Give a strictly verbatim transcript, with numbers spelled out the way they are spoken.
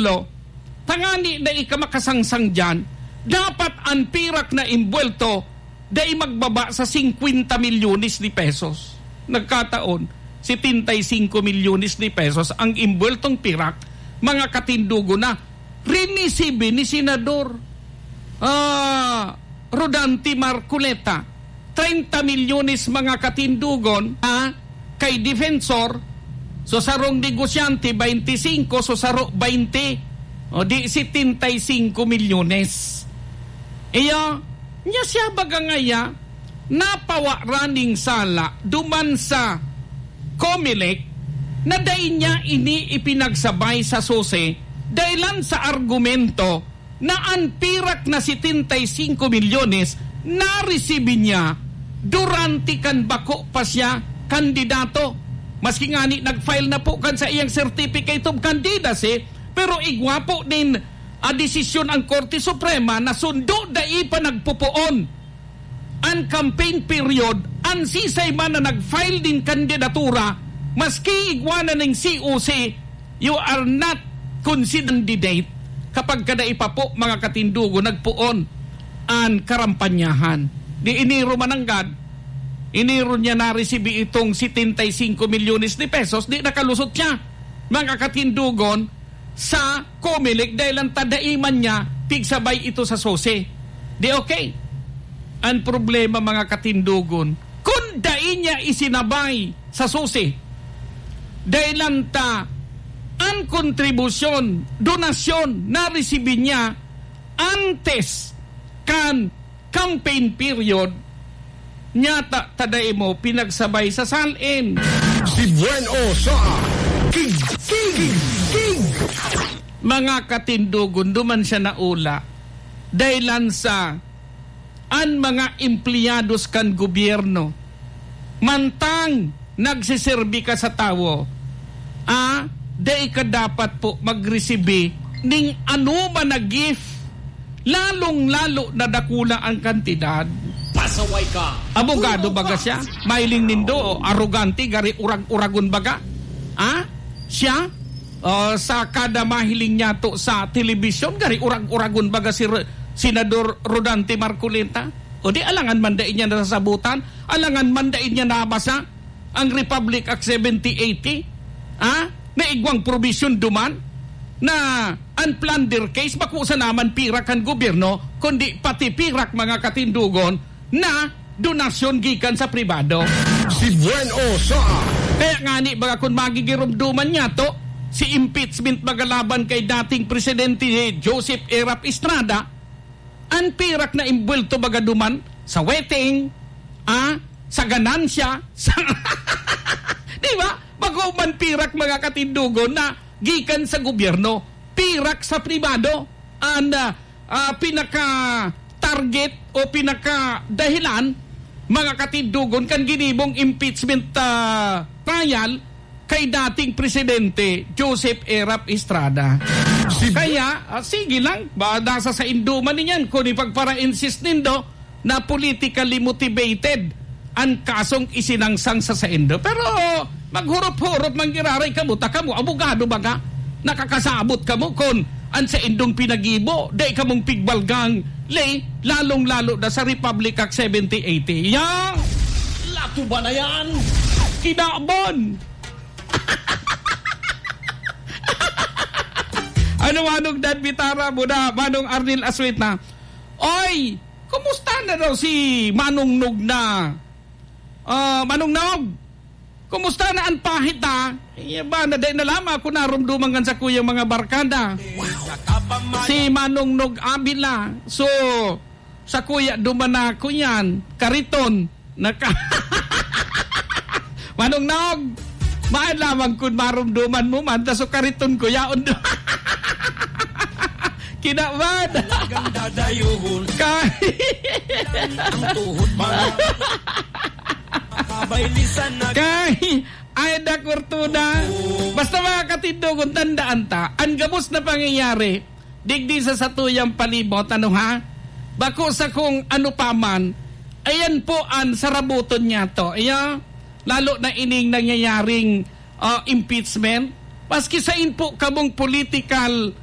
imbuwelto, tangani dai ka makasangsang diyan, dapat an pirak na imbuwelto dai magbaba sa singkwenta milyones de pesos. Nagkataon, setenta y cinco milyones de pesos ang imbuweltong pirak, mga katindogon, na rinisibi ni Senador, ah, Rodante Marcoleta. Treinta milyones, mga katindogon, ah, kay Defensor, so sarong negosyante, bainti singko, so saro, bainti. O di, setenta y cinco milyones. Iyo, nya siya baga ngaya, napawa raning sala duman sa Comelec na dai niya ini ipinagsabay sa SOSE, dahilan sa argumento na an pirak na setenta y cinco milyones naresibi niya durante kan bako pa siya kandidato. Maski ngani nag-file na po kan saiyang Certificate of Candidacy, pero igwa po nin, ah, desisyon ang Korte Suprema na sundo dai pa nagpupoon an campaign period, an sisay man na nag-file nin kandidatura, maski igwa na ning C O C, you are not considered candidate kapag ka dai pa po, mga katindogon, nagpoon an karampanyahan. Di Enero mananggad, Enero niya naresibi itong setenta y cinco milyones de pesos, di nakalusot siya, mga katindogon, sa Comelec dahil ang tadaiman niya, pigsabay ito sa SOSE. Di okay? Ang problema, mga katindogon, kung dai niya isinabay sa SOSE, dahil ang ta, ang kontribusyon, donasyon na resibi niya antes kan campaign period, nyata ta dai mo pinagsabay sa SALN. Si Buen O sa King, King, King. Mga katindogon, duman siya naula. Dahilan sa an mga empleyados kan gobyerno. Mantang nagseserbi ka sa tawo, ah, dai ka dapat po magresibi ning anoman na gift, lalong-lalo na dakula ang kantidad. Pasaway ka! Abogado baga siya? Mahiling nindo, o arogante, gari urag-uragon baga? Ah? Siya? O, sa kada mahiling niya to sa telebisyon, gari urag-uragon baga si Re-, Senador Rodante Marcoleta? O di, alangan man dai niya nasasabutan, alangan man dai niya nabasa ang Republic Act seventy eighty, ah, na igwang probisyon duman na an plunder case bako sana man pirak kan gobyerno, kundi pati pirak, mga katindogon, na donasyon gikan sa pribado. Si Buen O sa Kaya ngani, baga kun magigiromdoman niya to, si impeachment magalaban kay dating Presidente Joseph Erap Estrada, an pirak na imbuwelto baga duman sa wedding, ah, sa ganansya, sa, di ba? Bako man pirak, mga katindogon, na gikan sa gobyerno, pirak sa pribado, an, ah, ah, pinaka-target o pinaka-dahilan, mga katindogon, kan ginibong impeachment, ah, trial kay dating Presidente Joseph Erap Estrada. Kaya, ah, sige lang, ba, nasa saindo man niyan kung ipagpara-insist nindo na politically motivated an kasong isinangsang sa saindo. Pero maghurop-hurop man giraray kamo, ta kamo, abogado baga, nakakasabot kamo kun an saindong pinagibo, dai kamong pigbalgang ley, lalong-lalo na sa Republic Act seventy eighty. Yan! Latuba na yan! Kinabon! Ano, Manong Dan Bitara mo na, Manong Arnel Asueta? Oy, kumusta na daw si Manong Nog na? Ah, Manong Nog, kumusta na an pahit, ha? Iya ba, na dai na lamang ako narumduman kan sakuyang mga barkada. Si Manong Nog Avila. So, sakuya duman na ako yan. Kariton. Naka-, Manong Nog, maan lamang kun marumduman mo man, ta so kariton ko, yaon do-, Kinaban. Talagang dadayuhon. Kay ang tuhod, mga kabaylisan na Kay, ay, da, Cortuna. Basta, mga katindogon, tandaan ta, ang gabos na pangyayari, digdi sa satuyang palibot, ano ha? Bako sa kung ano pa man, ayan po ang sarabuton niya to. Iya, lalo na ining nangyayaring, ah, impeachment. Maski sain po kamong political